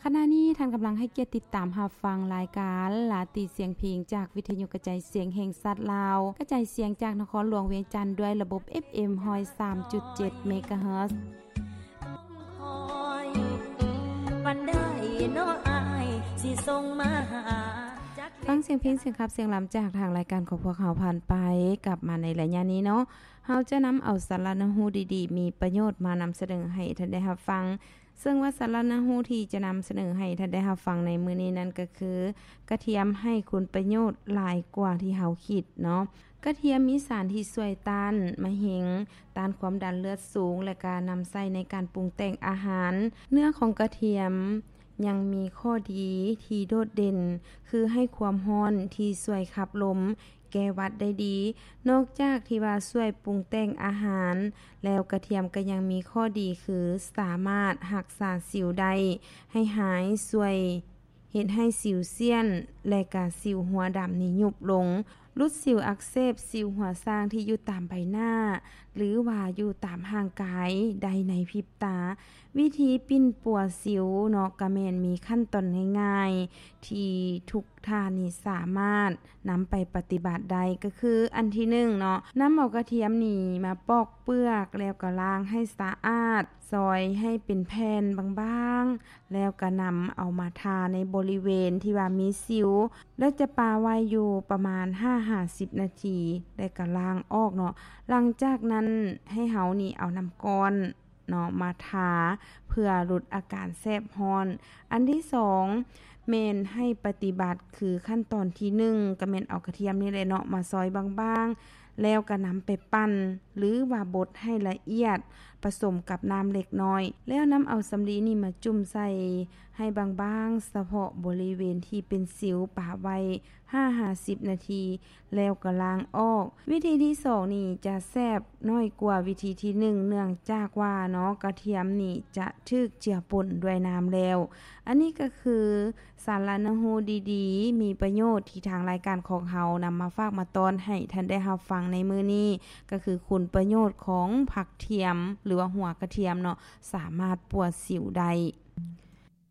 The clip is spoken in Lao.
ຂະນະນີ້ທ່ານກຳລັງໃຫ້ກຽດຕິດຕາມຮັບຟັງລາຍການລາຕີສຽງເພງ ຈາກວິທະຍຸກະຈາຍສຽງແຫ່ງຊາດລາວ, ກະຈາຍສຽງຈາກນະຄອນຫຼວງວຽງຈັນ ດ້ວຍລະບົບ ເອັຟເອັມ ຮ້ອຍສາມຈຸດເຈັດ ເມກາເຮີດ. ຟັງສຽງເພງ ສຽງຂັບ ສຽງລຳ ຈາກທາງລາຍການຂອງພວກເຮົາຜ່ານໄປ, ກັບມາໃນໄລຍະນີ້ເນາະ, ເຮົາຈະນຳເອົາສາລະໜ້າຮູ້ດີໆ ມີປະໂຫຍດມານຳສະເໜີໃຫ້ທ່ານໄດ້ຮັບຟັງ. ເຊິ່ງວ່າສາລະໜ້າຮູ້ທີ່ຈະນຳສະເໜີໃຫ້ທ່ານໄດ້ຮັບຟັງໃນມື້ນີ້ນັ້ນກໍຄື ກະທຽມໃຫ້ຄຸນປະໂຫຍດຫຼາຍກວ່າທີ່ເຮົາຄິດເນາະ. ກະທຽມມີສານທີ່ຊ່ວຍຕ້ານມະເຮັງ, ຕ້ານຄວາມດັນເລືອດສູງ ແລະ ກະນຳໃຊ້ໃນການປຸງແຕ່ງອາຫານ. ເນື້ອຂອງກະທຽມຍັງມີຂໍ້ດີທີ່ໂດດເດັ່ນ ຄືໃຫ້ຄວາມຮ້ອນທີ່ຊ່ວຍຂັບລົມ, ແກ້ຫວັດໄດ້ດີ. ນອກຈາກທີ່ວ່າຊ່ວຍປຸງແຕ່ງອາຫານແລ້ວ, ກະທຽມກໍຍັງມີຂໍ້ດີຄືສາມາດຮັກສາສິວໄດ້ໃຫ້ຫາຍ, ຊ່ວຍເຮັດໃຫ້ສິວເຊຍນ ແລະ ກະສິວຫົວດຳນີ້ຍຸບລົງ, ຫຼຸດສິວອັກເສບ, ສິວຫົວຊ້າງທີ່ຢູ່ຕາມໃບໜ້າ ຫຼືວ່າຢູ່ຕາມຮ່າງກາຍໄດ້ໃນພິບຕາ. ວິທີປິ່ນປົວສິວເນາະ ກະແມ່ນມີຂັ້ນຕອນງ່າຍໆ ທີ່ທຸກທ່ານນີ້ສາມາດ ນຳໄປປະຕິບັດໄດ້ ກໍຄືອັນທີໜຶ່ງເນາະ, ນຳເອົາກະທຽມນີ້ມາປອກເປືອກ ແລ້ວກໍລ້າງໃຫ້ສະອາດ, ຊອຍໃຫ້ເປັນແຜ່ນບາງໆ ແລ້ວກໍນຳເອົາມາທາໃນບໍລິເວນທີ່ວ່າມີສິວ ແລະ ຈະປະໄວ້ຢູ່ປະມານຫ້າຫາສິບນາທີ ແລ້ວກໍລ້າງອອກເນາະ. ຫຼັງຈາກນັ້ນໃຫ້ເຮົານີ້ເອົານ້ຳກ້ອນ ເນາະ ມາທາເພື່ອຫຼຸດອາການແສບຮ້ອນ. ອັນທີສອງ ແມ່ນໃຫ້ປະຕິບັດຄືຂັ້ນຕອນທີໜຶ່ງ ກໍແມ່ນເອົາກະທຽມນີ້ແຫຼະເນາະ ມາຊອຍບາງໆ ແລ້ວກໍນຳໄປປັ່ນ ຫຼືວ່າບົດໃຫ້ລະອຽດ ປະສົມກັບນ້ຳເລັກນ້ອຍ ແລ້ວນຳເອົາສຳລີນີ້ມາຈຸ່ມໃສ່ໃຫ້ບາງໆ ສະເພາະບໍລິເວນທີ່ເປັນສິວ ປະໄວ້ຫ້າຫາສິບນາທີ ແລ້ວກໍລ້າງອອກ. ວິທີທີສອງນີ້ຈະແສບນ້ອຍກວ່າວິທີທີໜຶ່ງ ເນື່ອງຈາກວ່າເນາະ ກະທຽມນີ້ຈະຖືກເຈືອປົນດ້ວຍນ້ຳແລ້ວ. ອັນນີ້ກໍຄືສາລະໜ້າຮູ້ດີໆ ມີປະໂຫຍດທີ່ທາງລາຍການຂອງເຮົານຳມາຝາກມາຕ້ອນໃຫ້ທ່ານໄດ້ຮັບຟັງໃນມື້ນີ້ ກໍຄືຄຸນປະໂຫຍດຂອງຜັກທຽມ ຫຼືວ່າຫົວກະທຽມເນາະ ສາມາດປົວສິວໄດ້.